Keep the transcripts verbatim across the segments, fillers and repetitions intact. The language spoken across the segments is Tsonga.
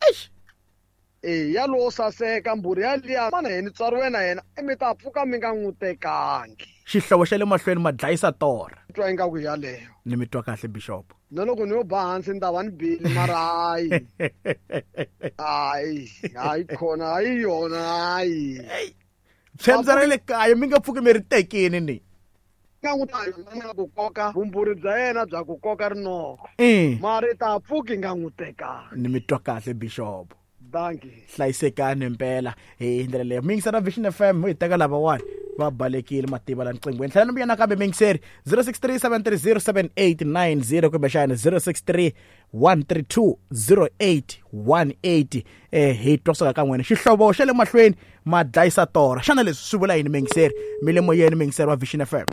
Eish. E yalowo saseka mbhuri yaliya mana yena tswariwe na yena mi ta pfuka mi nga n'wi tekangi. Xihlovo xa le mahlweni ma dlayisa torha. Twa ingaku yaleyo. Ni mi twa kahle Bishop. Na loko ni yo ba hansi ni ta va ni bile mara hayi. Hayi, hayi khona hayi yona hayi. Tshembisa ra le kaya mi nga pfuki mi ri tekini ni. Nga n'wi ta yona ku koka vumbhuri bya yena bya ku koka rinoko. Mara ta pfuki nga n'wi tekanga. Ni mi twa kahle Bishop. Dankie. Hlayisekani mpela hi ndlela leyo. Mingisana Vision F M hi teka lavawani va balekile mativa la nqingweni. Tlhela ni vuya nakambe mingiseri zero six three seven three zero seven eight nine zero kumbexana zero six three one three two zero eight one eight. Eh hi twa kusuka ka n'wina. Xihlovo xa le mahlweni ma dlayisa torha. Xana leswi swi vula yini mingiseri? Mi le moyeni mingiseri wa Vision F M.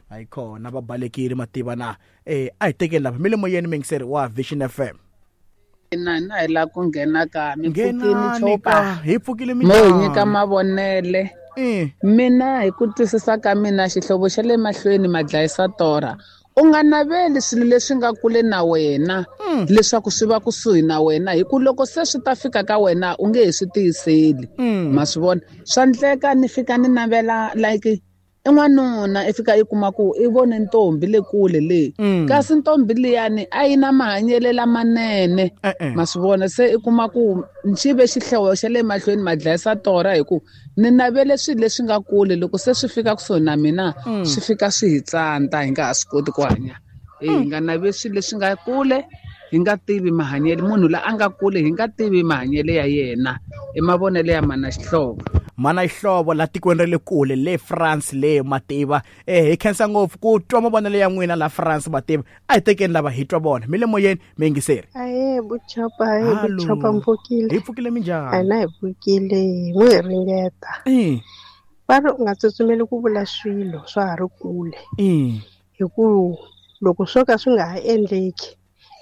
Hayi khona va balekile mativa na. Eh a hi tekeni lava mi le moyeni mingiseri wa Vision F M. Na na hi la ku nghena ka mi pfukile chopa hi pfukile mina mo nyika mavonele. Mina hi ku twisisa ka mina xihlovo xa le mahlweni ma dlayisa torha. U nga naveli swilo leswi nga kule na wena leswaku swi va kusuhi na wena hi ku loko se swi ta fika ka wena u nge he swi tiyiseli. Ma swi vona swa ndleka ni fika ni navela like i n'wanuna i fika i kuma ku i vone ntombi le kule le kasi ntombi liyani a yi na mahanyelo lamanene. Ma swi vona se i kuma ku xi ve xihlovo xa le mahlweni ma dlayisa torha hi ku ni navele swilo leswi nga kule loko se swi fika kusuhi na mina swi fika swi hi tsandza hi nga ha swi koti ku hanya. Hi nga naveli swilo leswi nga kule hi nga tivi mahanyelo munhu la a nga kule hi nga tivi mahanyelo ya yena. I mavonelo ya mana Xihlovo. Mana Xihlovo la tikweni ra le kule le France le mativa. Eh hi khensa ngopfu ku twa mavonelo ya n'wina la France mativa. A hi tekeni lava hi twa vona. Mi le moyeni mi yingiseri. Ahe buchopa, ahe buchopa mpfukile. Hi pfukile minjhani? A na hi pfukile n'wi hi ringeta. Va ri u nga tsutsumeli ku vula swilo swa ha ri kule. Hi ku loko swo ka swi nga ha endleki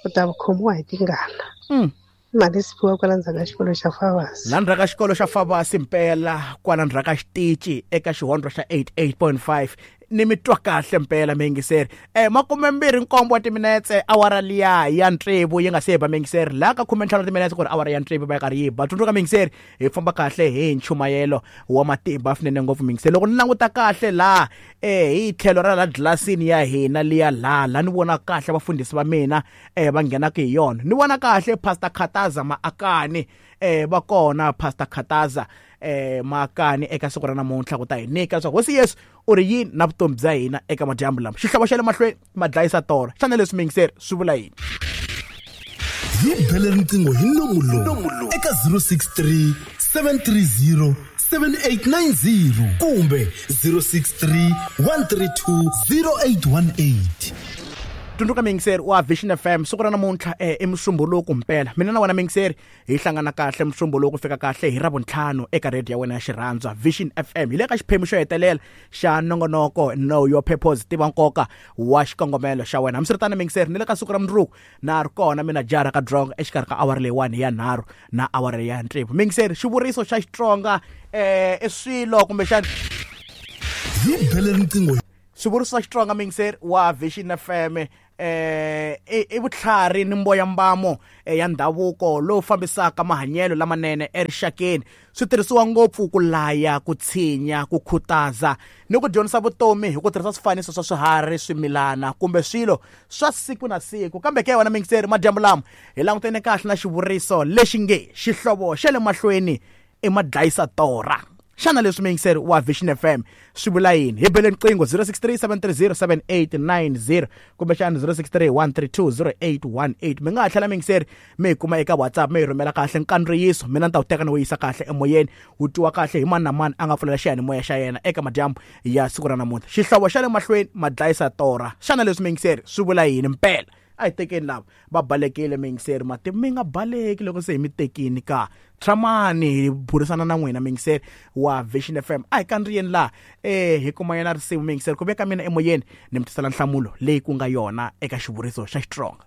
u ta khomiwa hi tingana. Mali siphiwa kwala ndzhaku ka xikolo xa Favasi. La ndzhaku ka xikolo xa Favasi mpela kwala ndzhaku ka xitichi eka xihondlo xa eighty-eight point five. Ni mi twa kahle mpela mingiseri. Eh makume mbirhi nkombo wa timinetse awara liya ya ntsevu yi nga se ba mingiseri. La ka khume ntlhanu timinetse ku ri awara ya ntsevu va karhi yi ba. Tsundzuka mingiseri hi famba kahle hi nchumayelo wa matimba swinene ngopfu mingiseri. Loko ni languta kahle la eh hi tlhelo ra la glasini ya hina liya la la ni vona kahle vafundhisi va mina eh va nghenaka hi yona. Ni vona kahle Pastor Khataza Maakani eh va kona Pastor Khataza eh Maakani eka siku ra namuntlha ku ta hi nyika leswaku Hosi Yesu u ri yini na vutomi bya hina eka madyambu lama. Xihlovo xa le mahlweni ma dlayisa torha. Xana leswi mingiseri swi vula yini? Hi bele riqingho hi nomu lowu eka zero six three seven three zero seven eight nine zero kumbe zero six three one three two zero eight one eight. Tsundzuka mingiseri wa Vision F M siku ra namuntlha eh i Musumbhunuko mpela. Mina na wena mingiseri hi hlangana kahle Musumbhunuko fika kahle hi Ravuntlhanu eka radio ya wena ya xirhandzwa Vision F M. Hi le ka xiphemu xo hetelela xa nongonoko Know Your Purpose, tiva nkoka wa xikongomelo xa wena. Hambiswiritano mingiseri ni le ka siku ra mundzuku na ri kona mina jara ka dronga exikarhi ka awara leyiwani ya nharhu na awara ya tsevu. Mingiseri xivuriso xa Xitsonga eh i swilo kumbexana hi bele riqingho. Xivuriso xa Xitsonga mingiseri wa Vision F M eh i vutlhari ni mboyambamo ya ndhavuko lowu fambisaka mahanyelo lamanene erixakeni. Swi tirhisiwa ngopfu ku laya, ku tshinya, ku khutaza ni ku dyondzisa vutomi hi ku tirhisa swifaniso swa swiharhi, swimilana kumbe swilo swa siku na siku. Kambe ke wena mingiseri madyambu lama hi langutene kahle na xivuriso lexi nge xihlovo xa le mahlweni i madlayisa torha. Xana leswi mingiseri wa Vision F M swi vula yini? Hi bele riqingho zero six three seven three zero seven eight nine zero kumbexana zero six three one three two zero eight one eight. Mi nga ha tlhela mingiseri mi hi kuma eka WhatsApp mi hi rhumela kahle nkandziyiso. Mina ni ta wu teka ni wu yisa kahle emoyeni wu twiwa kahle hi mani na mani a nga pfulela xiyanimoya xa yena eka madyambu ya siku ra namuntlha. Xihlovo xa le mahlweni ma dlayisa torha. Xana leswi mingiseri swi vula yini mpela? A hi tekeni lava va balekile mingiseri mati mi nga baleki loko se hi mi tekini ka tshamani hi burisana na n'wina mingiseri wa Vision F M. A hi kandziyeni laha eh hi kuma yena risimu mingiseri ku veka mina emoyeni ni mi tisela nhlamulo leyi ku nga yona eka xivuriso xa Xitsonga.